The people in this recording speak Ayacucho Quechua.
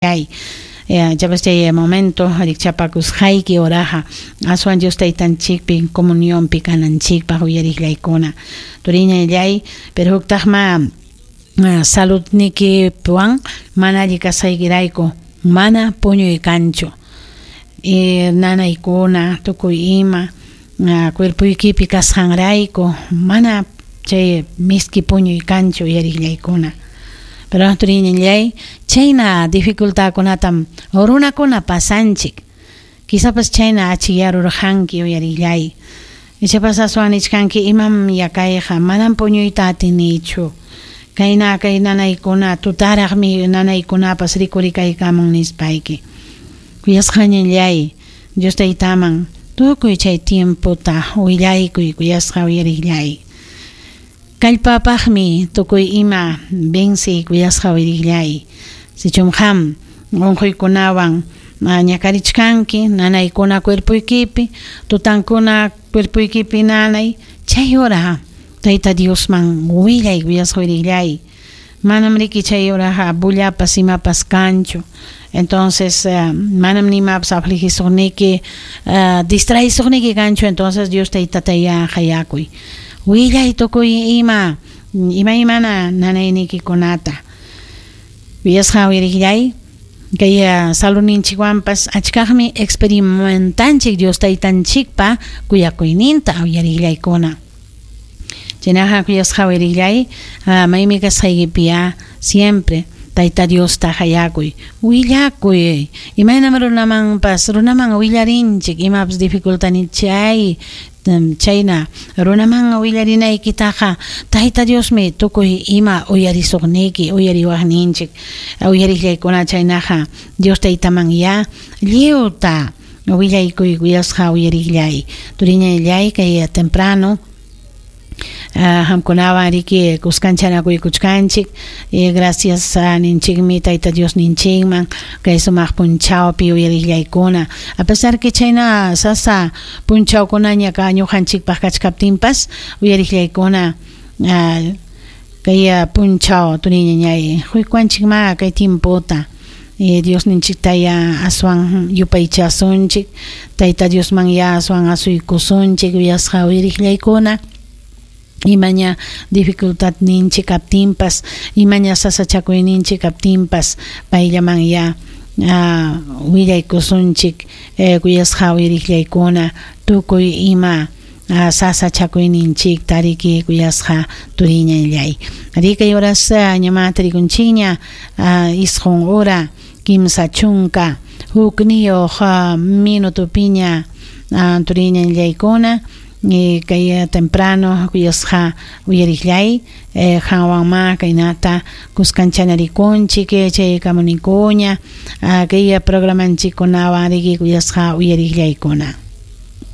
Chay chapas chay momento rikchapakusqayki horaqa aswan Dios Taytanchikpi comunionpi kananchikpaq uyariqllaykuna turiñallay, pero huktaqma saludnikiwan mana alli kasqaykirayku mana puñuy kanchu, nanaykuna tukuy ima cuerpoykipi kasqanrayku mana chay miski puñuy kanchu uyariqllaykuna. Pero turiñallay, chayna dificultadkunatam runakuna pasanchik. Quizapas chayna achikyarurqanki uyariqllay. Ichapas aswan nichkanki imam yakayqa manam puñuyta atinichu. Kayna kay nanaykuna tutaraqmi nanaykunapas rikurikaykamun nispayki. Kuyasqañallay, Dios Taytaman tukuy chay tiempota willaykuy kuyasqa uyariqllay. Kallpapaqmi tukuy ima venci kuyasqa uyariqllay. Sichum qam unquykunawan ñakarichkanki, nanaykuna cuerpoykipi, tutankuna cuerpoykipi nanay, chay hora Tayta Diosman willay kuyasqa uyariqllay. Manam riki chay horaqa bullapas imapas kanchu. Entonces manam nimapas afligisuqniki, distraisuqniki kanchu. Entonces Dios Taytatayá qayakuy. Willay tukuy ima imaymana nanaynikikunata. Kuyasqa uyariqllay, kay saludninchikwanpas achkaqmi experimentanchik Dios Taytanchikpa kuyakuyninta uyariqllaykuna. Chaynaqa kuyasqa uyariqllay, maymi kasqaykipiyá siempre Tayta Diosta qayakuy, willakuy. Imaynam runamanpas runaman willarinchik imapas dificultad chay chayna runaman willarinaykitaqa Tayta Diosmi tukuy ima uyarisuqniki, uyariwaqninchik. Uyariqllaykuna chaynaqa Dios Taytamanyá lliwta willaykuy kuyasqa uyariqllay. Turiñallay kay temprano qamkunawan riki kuskanchanakuykuchkanchik. Gracias ninchikmi Tayta Dios ninchikman kay sumaq punchawpi uyariqllaykuna. A pesar que chayna sasa punchawkunaña ka ñuqanchikpaq kachkaptinpas uyariqllaykuna kay punchaw turiñañay quykuwanchikma kay tiempota. Dios ninchiktaya aswan yupaychasunchik, Tayta Diosmanya aswan asuykusunchik uyasqa uyariqllaykuna. Imaña dificultad ninchik kaptinpas, imaña sasachakuyninchik kaptinpas, payllaman willaykusunchik kuyasqa uyariqllaykuna tukuy ima sasachakuyninchikta riki kuyasqa turiñallay. Rikay horas ñama tarikunchikña 9 hora 31 minutopiña turiñallaykuna kay temprano kuyasqa uyariqllay qanwanma kaynata kuskanchanarikunchik chay kamunikuña kay programanchikkunawan riki kuyasqa uyariqllaykuna.